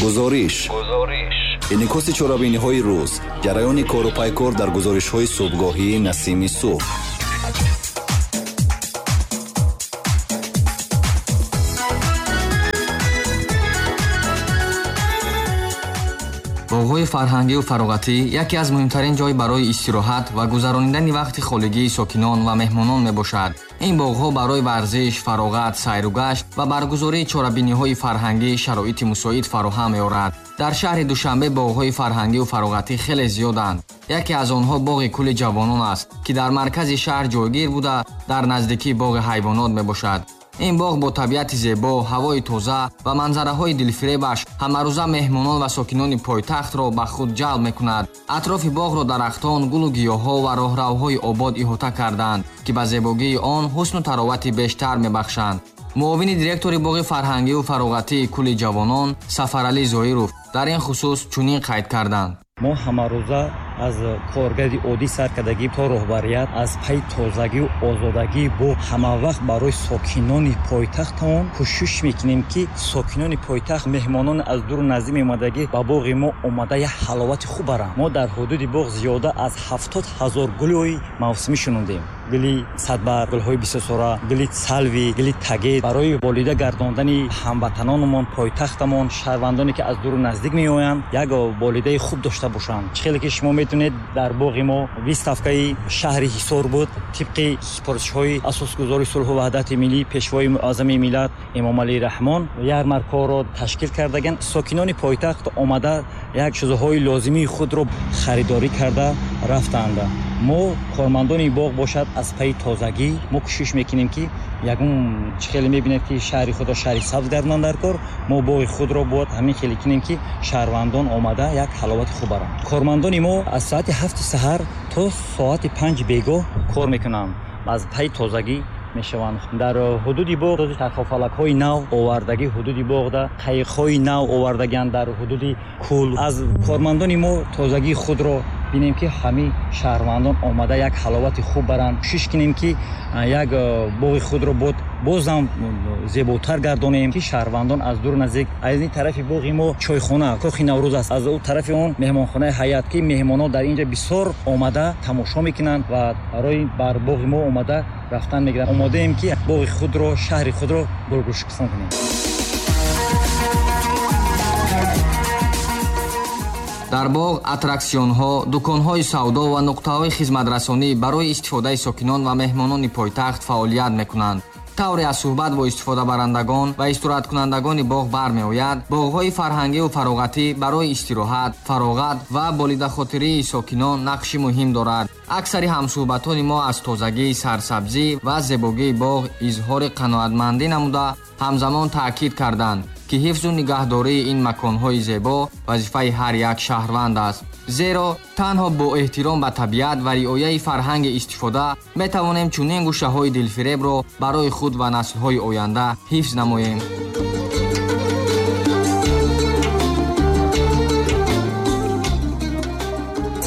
Гузориш. Инъикоси чорабиниҳои рӯз, ҷараёни кору пайкор дар гузоришҳои субҳгоҳии Насими субҳ. Боғҳои фарҳангию фароғатӣ яке аз муҳимтарин ҷой барои истироҳат ва гузаронидани вақти холигии сокинон ва меҳмонон мебошад. Ин боғҳо барои варзиш, фароғат, сайру гашт ва баргузории чорабиниҳои фарҳангӣ шароити мусоид фароҳам меорад. Дар шаҳри Душанбе боғҳои фарҳангию фароғатӣ хеле зиёданд. Яке аз онҳо боғи кӯли ҷавонон аст, ки дар маркази шаҳр ҷойгир буда, дар наздикии боғи ҳайвонот мебошад. Ин боғ бо табиати зебо, ҳавои тоза ва манзараҳои дилфиребаш ҳамарӯза меҳмонон ва сокинони пойтахтро ба худ ҷалб мекунад. Атрофи боғро дарахтон, гулу гиёҳҳо ва роҳравҳои обод иҳота карданд, ки ба зебогии он ҳусну таровати бештар мебахшанд. Муовини директори боғи фарҳангию фароғатии кӯли ҷавонон Сафаралӣ Зоиров дар ин хусус чунин қайд карданд. Мо ҳамарӯза аз коргари оддӣ сар кардагӣ то роҳбарият аз пайи тозагию озодагии боғ ҳамавақт барои сокинони пойтахтамон кӯшиш мекунем, ки сокинони пойтахт, меҳмонони аз дуру наздик меомадагӣ ба боғи мо омада як ҳаловати хуб баранд. Мо дар ҳудуди боғ зиёда аз 70 000 гулҳои мавсимӣ шунондем: гули садбар, гулҳои бисёрсора, гули салви, гули тагет, барои болида гардондани ҳамватанонамон, пойтахтамон, шаҳрвандоне ки аз дуру наздик меоянд, як болидаи хуб дошта бошанд. Чӣ хеле ки шумо метавонед, дар боғи мо выставкаи шаҳри Ҳисор буд. Тибқи супоришҳои асосгузори сулҳу ваҳдати миллӣ, пешвои муаззами миллат Эмомалӣ Раҳмон ярмаркаро ташкил кардаган. Сокинони пойтахт омада як чизҳои лозимии худро харидорӣ карда рафтанд. Мо кормандони боғ бошад, аз пайи тозагӣ мо кӯшиш мекунем, ки ягон чӣ хеле мебинед, ки шаҳри худро шаҳри сабз гардонанд дар кор. Мо боғи худро бояд ҳамин хеле кунем, ки шаҳрвандон омада як ҳаловати хуб баранд. Кормандони мо аз соати 7-и саҳар то соати 5-и бегоҳ кор мекунанд, аз пайи тозагӣ мешаванд. Дар ҳудуди боғ чархофалакҳои нав овардагӣ, ҳудуди боғда қайиқҳои нав овардагианд дар ҳудуди кӯл. Аз кормандони мо тозагии худро бинем, ки ҳамин шаҳрвандон омада як ҳаловати хуб баранд. Кӯшиш кунем, ки як боғи худро бозам зеботар гардонем, ки шаҳрвандон аз дуру наздик. Аз ин тарафи боғи мо чойхона, кохи Наврӯз аст, аз ӯ тарафи он меҳмонхонаи Ҳаят, ки меҳмонон дар инҷа бисёр омада тамошо мекунанд ва барои бар боғи мо омада рафтан мегиранд. Омодаем, ки боғи худро, шаҳри худро гулгулшукуфон кунем. Дар боғ аттраксионҳо, дуконҳои савдо ва нуқтаҳои хизматрасонӣ барои истифодаи сокинон ва меҳмонони пойтахт фаъолият мекунанд. Тавре аз суҳбат бо истифодабарандагон ва истироҳаткунандагони боғ бармеояд, боғҳои фарҳангию фароғатӣ барои истироҳат, фароғат ва болидахотирии сокинон нақши муҳим дорад. Аксари ҳамсуҳбатони мо аз тозагӣ, сарсабзӣ ва зебогии боғ изҳори қаноатмандӣ намуда, ҳамзамон таъкид карданд, ки ҳифзу нигаҳдории ин маконҳои зебо вазифаи ҳар як шаҳрванд аст, зеро танҳо бо эҳтиром ба табиат ва риояи фарҳанги истифода метавонем чунин гӯшаҳои дилфиребро барои худ ва наслҳои оянда ҳифз намоем.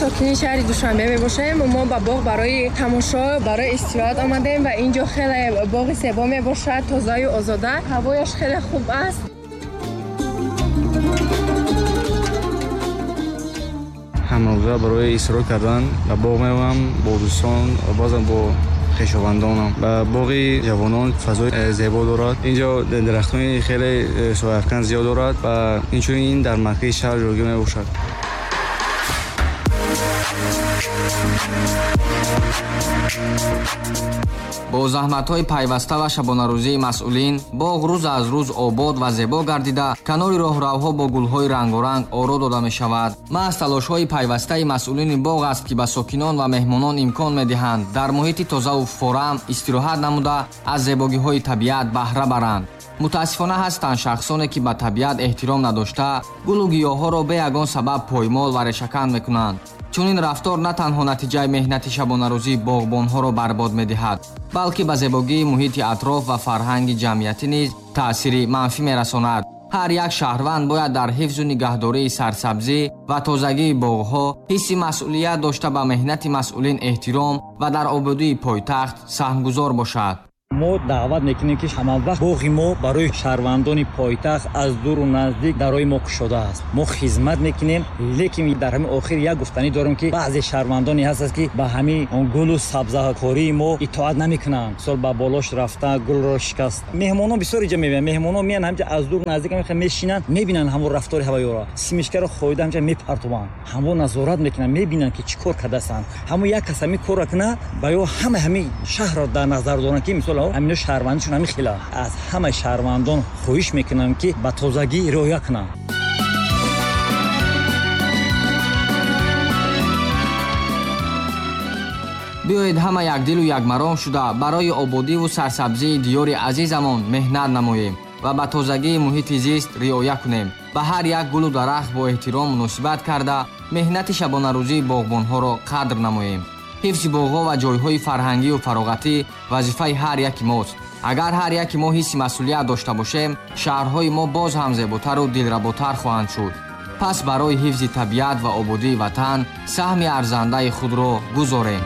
Сокини шаҳри Душанбе мебошем. Мо ба боғ барои тамошо, барои истироҳат омадем ва инҷо хеле боғи зебо мебошад, тозаю озода, ҳавояш хеле хуб аст. Ҳамарӯза барои истироҳат кардан ба боғ меоям бо дӯстон ва баъзан бо хешовандонам. Ба боғи ҷавонон фазои зебо дорад. Инҷо дарахтони хеле сояафкан зиёд дорад ва инчунин дар маркази шаҳр ҷойгир мебошад. Бо заҳматҳои пайваста ва шабонарӯзии масъулин боғ рӯз аз рӯз обод ва зебо гардида, канори роҳравҳо бо гулҳои рангоранг оро дода мешавад. Маҳз талошҳои пайвастаи масъулини боғ аст, ки ба сокинон ва меҳмонон имкон медиҳанд дар муҳити тозаву форам истироҳат намуда, аз зебогиҳои табиат баҳра баранд. Мутаассифона, ҳастанд шахсоне, ки ба табиат эҳтиром надошта, гулу гиёҳҳоро бе ягон сабаб поймол ва решакан мекунанд. Чунин рафтор на танҳо натиҷаи меҳнати шабонарӯзии боғбонҳоро барбод медиҳад, балки ба зебогии муҳити атроф ва фарҳанги ҷамъиятӣ низ таъсири манфӣ мерасонад. Ҳар як шаҳрванд бояд дар ҳифзу нигаҳдории сарсабзӣ ва тозагии боғҳо ҳисси масъулият дошта, ба меҳнати масъулин эҳтиром ва дар ободии пойтахт саҳмгузор бошад. Мо даъват мекунем, ки ҳамавақт боғи мо барои шаҳрвандони пойтахт аз дуру наздик дарои мо кушода аст. Мо хизмат мекунем, лекин дар ҳамин охир як гуфтанӣ дорем, ки баъзе шаҳрвандоне ҳастанд, ки ба ҳамин гулу сабзакории мо итоат намекунанд. Мисол, ба болош рафта гулро шикаст. Меҳмонон бисёр инҷа мебинанд, меҳмонон меянд ҳамҷа аз дур наздик мешинанд, мебинанд ҳамон рафтори ҳавоёро, симишкаро хоида ҳамҷа мепартованд, ҳамон назорат мекунанд, мебинанд, ки чӣ кор кардастанд. Ҳамон як кас ҳамин корро кунад, ба ё ҳама ҳамин шаҳрро дар назар доранд, ки мисол ҳамино шаҳрвандишон ҳамин хела. Аз ҳамаи шаҳрвандон хоҳиш мекунам, ки ба тозагӣ риоя кунанд. Биёед ҳама якдилу якмаром шуда барои ободиву сарсабзии диёри азизамон меҳнат намоем ва ба тозагии муҳити зист риоя кунем. Ба ҳар як гулу дарахт бо эҳтиром муносибат карда, меҳнати шабонарӯзии боғбонҳоро қадр намоем. Ҳифзи боғҳо ва ҷойҳои фарҳангию фароғатӣ вазифаи ҳар яки мост. Агар ҳар яки мо ҳисси масъулият дошта бошем, шаҳрҳои мо боз ҳам зеботару дилработар хоҳанд шуд. Пас барои ҳифзи табиат ва ободии ватан саҳми арзандаи худро гузорем.